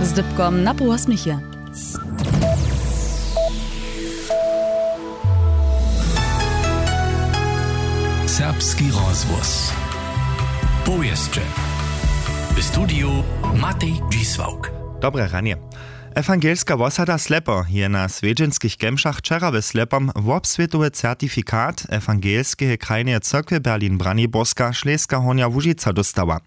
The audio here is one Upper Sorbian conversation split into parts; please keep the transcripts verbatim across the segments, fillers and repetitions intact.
Z dypkom na pół wosmich je. Serbski rozhłos. Powěsće. W studiju Matej Dźisławk. Dobre ranje. Ewangelska wosada Slepo je na swjedźenskich kemšach wčera w Slepom wobswětowy certifikat Ewangelskeje krajneje cyrkwje Berlin Braniborska Šleska Hornja Łužica dóstała.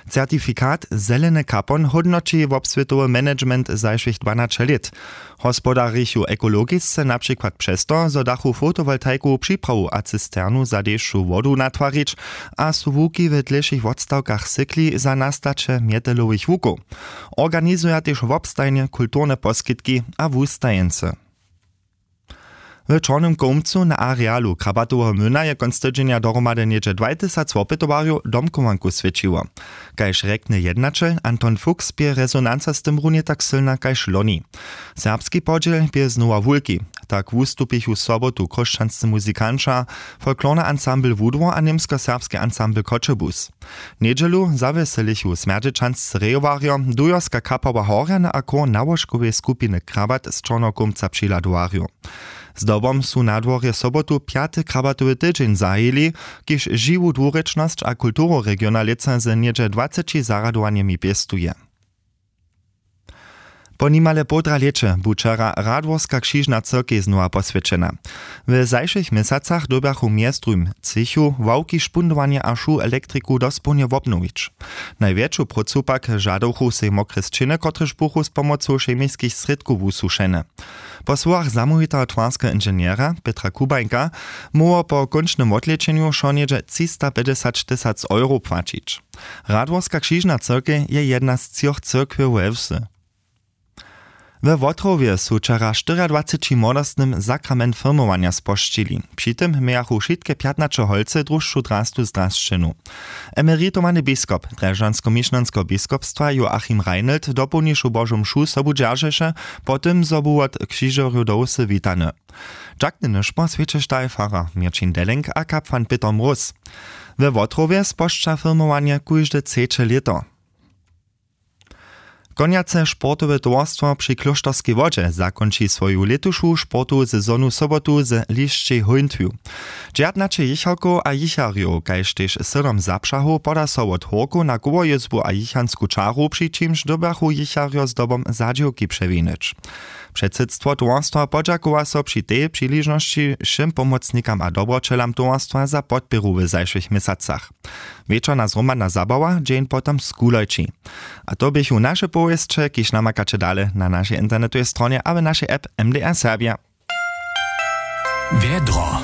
Certifikat Zeleny kapon hódnoći wobswětowy management zašłych dwanaće lět. Hospodarichu ekologisce na přikład přez to, zo dachu fotowoltajku, připrawu a cisternu za dešću wodu natwarić a su łuki w dlěšich wotstawkach sykli za nastaće mjetelowych łukow. Organizuja tež wobstajnje kulturne poskitki a wustajeńcy. W Čornym Kołmcu na arealu Krabatoweho młyna je kónc tydźenja dohromady něhdźe dwaj tysac wopytowarjow domchowanku swjećiło. Kaž rjekny jednaćel Anton Fuchs, bě rezonanca z tym runje tak sylna kaž loni. Serbski podźěl bě znowa wulki. Tak wustupichu sobotu chróšćanscy muzikanća, folklorny ansambl Wudło a němskoserbski ansambl Choćebuz. Njedźelu zawjeselichu smjerdźećanscy rejowarjo, dujerska kapała Horjany a chór nałožkoweje skupiny Krabat z Čorneho Kołmca přihladowarjow. Zdobom su na dworje sobotu pjaty krabatowy tydźeń zahajili, kiž žiwu dwurěčnosć a kulturu regiona lětsa z něhdźe dwaceći zarjadowanjemi pěstuje. Po nimale połdra lěće bu wčera Radworska křižna cyrkej znowa poswjećena. W zašłych měsacach dyrbjachu mjez druhim třěchu ławki, špundowanje a šu elektriku dospołnje wobnowić. Najwjetšu prócu pak žadowchu sej mokre sćěny, kotrež buchu z pomocu chemiskich srědkow wusušene. Po słowach zamołwiteho twarskeho inženjera Petra Kubańka móhło po kónčnym wotlečenju wšo něhdźe třistapjećdźesać tysac euro płaćić. Radworska křižna cyrkej je jedna z třoch cyrkwjow we wsy. We Wotrowje su wčera štyriadwaceći młodostnym sakrament firmowanja spožčili. Při tym mějachu wšitke pjatnaće holcy družšu drastu zdrasćenu. Emeritowany biskop drježdźanskomišnjanskeho biskopstwa Joachim Reinelt dopołnišu Božu mšu sobu dźeržeše, po tym zo bu wot křižerjow do wsy witany. Dźakny nyšpor swjećeštaj farar Měrćin Delenk a kapłan Pětr Mróz. We Wotrowje spožča firmowanje kóžde třeće lěto. Konjace sportowe towarstwo při Klóšterskej Wodźe zakónči swoju lětušu sportowu sezonu sobotu z lišćej hóńtwju. Dźertnaće jěchałkow a jěcharjow, kaž tež sydom zapřahow poda so wot hórkow na kołojězbu a jěchansku čaru, při čimž dyrbjachu jěcharjo zdobom zadźěłki přewinjeć. Předsydstwo towarstwa podźakowa so při tej přiležnosći wšěm pomocnikam a dobroćelam towarstwa za podpěru w zašłych měsacach. Wječorna zhromadna zabawa dźeń potom skulojći. A to běchu naše powěsće, kiž namakaće dale na našej internetowej stronje a w našej app M D R Serbia. Wjedro.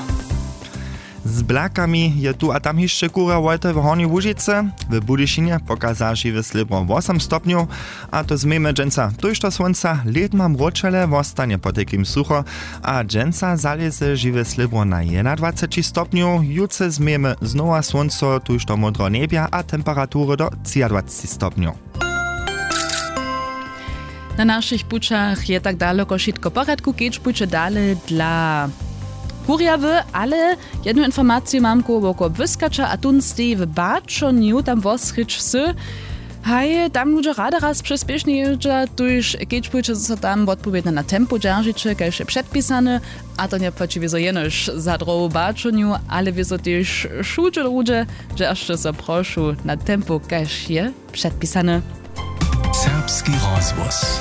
Z blakami je tu a tam hišće kurja wojty w Hornjej Łužicy. W Budyšinje pokaza žiwe slěbro wosom stopnjow, a to změjmy dźensa tójšto słónca. Lět ma mróčele, wostanje potajkim sucho, a dźensa zalěze žiwe slěbro na jednadwaceći stopnjow. Jutře změjmy znowa słónco, tójšto módro njebja a temperatury do třiadwaceći stopnjow. Na našich pućach je tak daloko wšitko w porjadku, kedźbujće dale dla kurjawy, ale jednu informaciju mam koło woko błyskaća, a tón steji w Baćonju, tam wosrědź wsy. Haj, tam ludźe rady raz přespěšnje jězdźa, tuž kedźbujće, zo so tam wotpowědnje na tempo dźeržiće, kaž je předpisane. A to njepłaći wězo jenož za drohu Baćonju, ale wězo tež wšudźe druhdźe, dźeržće so prošu na tempo, kaž je předpisane. Serbski rozhłos.